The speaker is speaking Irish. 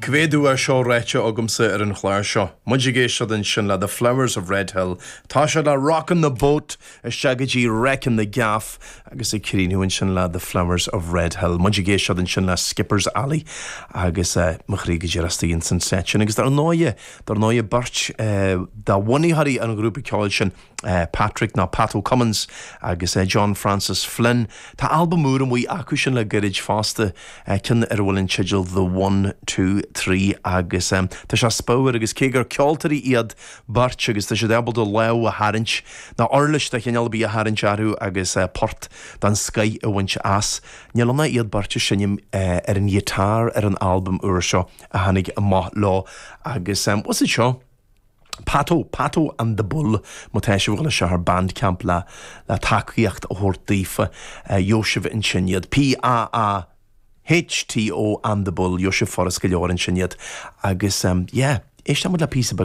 Cá mhéad uair seo ráite agamsa ar an chlár seo? Muid ag éisteacht ansin le The Flowers of Red Hill. Tá siad le Rockin' the Boat isteach go dtí Reic na gCeaf agus ag críochnú ansin le The Flowers of Red Hill. Muid ag éisteacht ansin le Skipper's Alley agus mo chroí go díreach istigh ins an seit sin. Agus dar ndóighe, dar ndóighe beirt de bhunaitheoirí an ghrúpa ceoil sin, Patrick nó Pat Cummins agus John Francis Flynn. Tá albam úr amuigh acu sin le gairid fosta, ceann ar a bhfuil an teideal The One, Two, Three agus tá sé spiormhar agus cé gur ceoltóirí iad beirt agus tá siad ábalta lámh a tharraingt nó uirlis de chineál ar bith a tharraingt orthu agus port den scoith a bhaint as, níl ann ach iad beirt ag seinm ar an ghiotár ar an albam úr seo a tháinig amach leo agus what's it seo? Pato, Pato and the Bull, má tá sibh ag dul isteach ar Bandcamp le le tacaíocht a thabhairt daofa, gheobhaidh sibh ansin iad. P-A-A-H-T-O and the Bull, gheobhaidh sibh furast go leor ansin iad. Agus yeah, éistfidh muid le píosa beag.